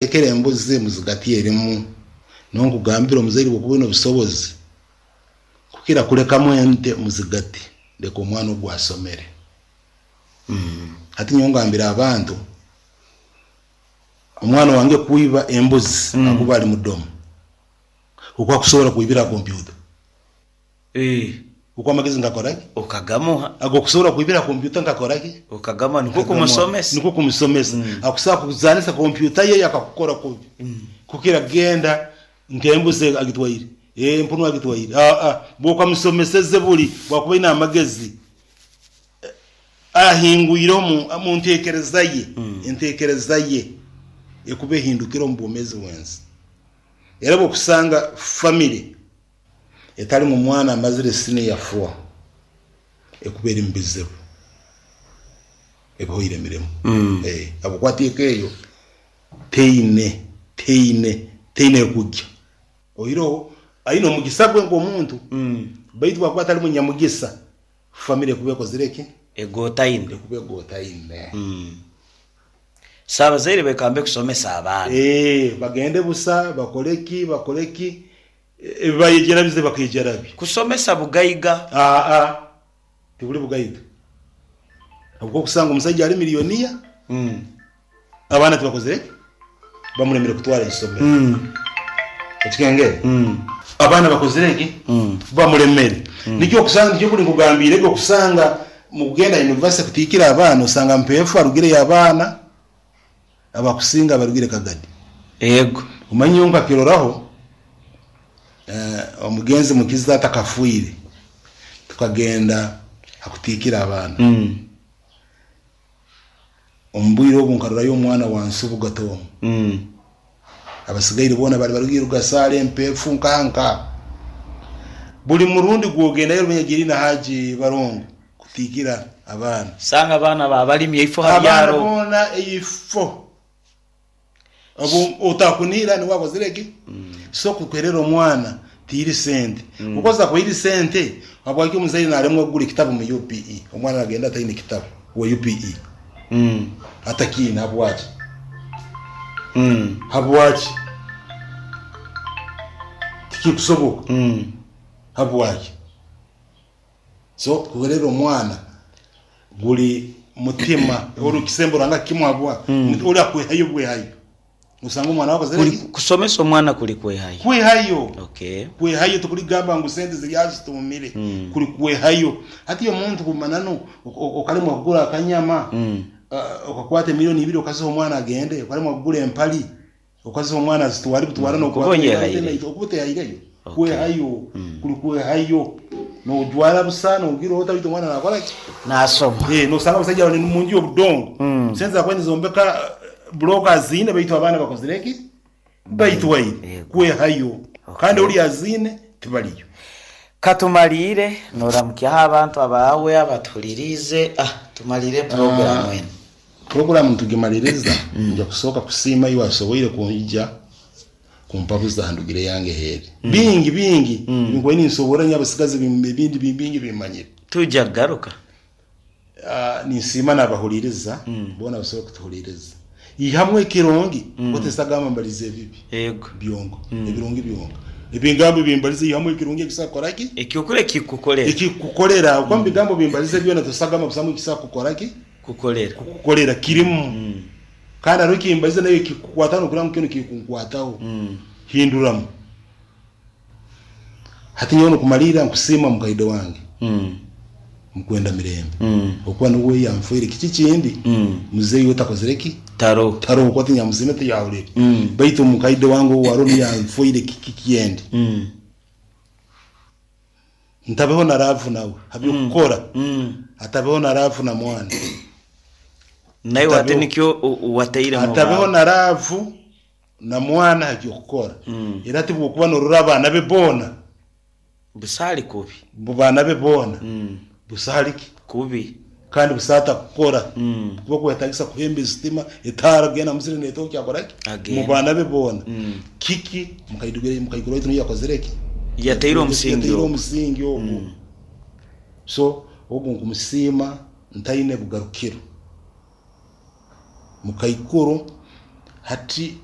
Lekera embuzi muzigati erimu. Nonkugambira omuzaire bwokuba oine obusobozi kukira kulekamu ente muzigati leka omwana ogu asomere. Hati nyowe ngambira abantu omwana wange kwiba embuzi akuba ali mudomo oku akusobora kwibira ha kompyuta. Oku amagezi ngakora ki? Okagamuha. Agokusobora kwibira kompyuta nkakora ki? Okagamuha nikwo kumusomesa. Nikwo kumusomesa. Akusobora kuzanisa kompyuta ye akakukora kubi. Kukira kugenda nk'embuzi agitwaire, empunu agitwaire. Aa, bw'okamusomeseze buli bwakuba aine amagezi ahingwire omu ntekereza ye, entekereza ye ekuba ehindukire omu bwomeezi bw'ensi. Era bw'okusanga famire etarimu mwana amazire siniya four ekuba eri mubizibu ebihoire emirimo ahabwokuba hati eka eyo teine teine teine ekugya oihireho aine omugisa gwe nkomuntu baitu bwakuba atari munyamugisa family ekuba ekozire ki? Egotaine. Ekuba egotaine. So abazaire bekambe kusomesa abaana. Bagende busa bakore ki bakore ki Ebi bayegyera bize bakegyera bi. Kusomesa bugaiga. Aa, tiburi bugaiga. Ahabw'okuba okusanga omusaija ari millionaire, abaana tibakozire ki? Bamuremire kutwara eisomero. Okikengere? Abaana bakozire ki? Bamuremere. Nikyo okusanga, nikyo buri nkugambiire ge okusanga mukugenda university kutiikira abaana osanga mpeefu arugireyo abaana Abakusinga barugire Kagadi. Ego. Omanye nyowe nkakiroraho omugenzi Mukiza atakafwire tukagenda ha kutiikira abaana. Omu bwire obu nkarorayo omwana wa Nsubuga Tom. Abasigaire boona bali barugire Rugasaale, Mpeefu, nkaha nkaha. Buli murundi gwogendayo Rubenya Jerina Haji Barongo Kutiikira abaana. Sanga abaana ba balimi eifo ha Abaana byaro. boona eifo. Obu otakunihira niwe akozire ki? So kuherera omwana tiiri sente. Kukoza kwiri sente habwaki omuzaire naremwa kugura ekitabu mu UPE omwana nagenda ataine kitabu owa UPE atakiine habwaki? Habwaki? Tikikusoboka. Habwaki? So kuherera omwana guri mutima ori kisembo Ruhanga akimuha bwa ori akwehayo bwehayo osanga omwana wawe akozire Kuri ki? kusomesa omwana kuri kwehayo. Kwehayo Okay. kwehayo tikurigamba ngu sente ziri aha zitumire kuri kwehayo hati omuntu kumananu okaremwa kugura akanyama okakwata emiliyoni ibiri okaziha omwana agende okaremwa kugura empari Okaziha omwana azitware butwara Okuba nokwata oyehaireyo. okuba otehaireyo Okay. kwehayo kuri kwehayo nojwara busa nogira ota beitu omwana nakora ki? Nasoma. Eh, nosanga abasaija bari munju yobudongo sente zakuba nizombeka buroka aziine beitu abaana bakozire ki? Baitwaire. Yego. Kwehayo kandi Okay. oriya aziine tibariyo. Katumariire noramukyaho abantu abaawe abatuhuririize ah tumariire puroguramu enu. Puroguramu nitugimaliriza nja kusooka kusiima iwe asoboire kwija kumpabuza ha ndugire yange heeri. Bingi bingi ebinkubaire ninsoborra nyowe abasigazi ebindi bingi bimmanyire. Twija kugaruka. Ninsiima n'abahuliiriza boona abasoboire kutuhuliiriza. Ihamu ekirungi otesagamba mbalize ebibi Yego. byonka, ebirungi byonka. Ebigambo ebimbalize ihamu ekirungi ekisobola kukora ki? Ekyokura ekikukukolera. Ekikukukolera ahabw'okuba omu bigambo bimbalize byona tosagamba busamu ekisobola kukukora ki? Kukolera. Kukukolera kirimu. Kandi hariho ekimbalize nayo ekikukwataho nokureba ngu kinu kirikunkwataho. Hinduramu. Hati nyowe nokumaliirira nkusiima mukaide wange Mukwenda Mirembe okuba niwe yanfwire. Kiki ekindi muzeeyi we takozire ki? Taroho. Taroho kuba tinyamusiime tiyahurire. Baitu mukaide wange ou aroho niwe yanfwire kiki kyendi. Ntabeho na laavu nawe haby'okukora, atabeho na laavu na mwana. Naiwe ate nikyo watairemu Atabeho baawe. na laavu na mwana haby'okukora. Era tibwokuba norora abaana be boona, Busaali kubi. baana be boona, busaali ki? Kubi. Kandi busaali takukora. Kuba kwetagisa kuhemba esitima, etaara, kugenda musiri neetokya akora ki? Agenda. Mu baana be boona. Kiki mukaikuru waitu niyo yakozire ki? Yataire omusingi Yataire ogwo. omusingi ogwo. So ogu nkumusiima ntaine bugarukiro. Mukaikuru hati.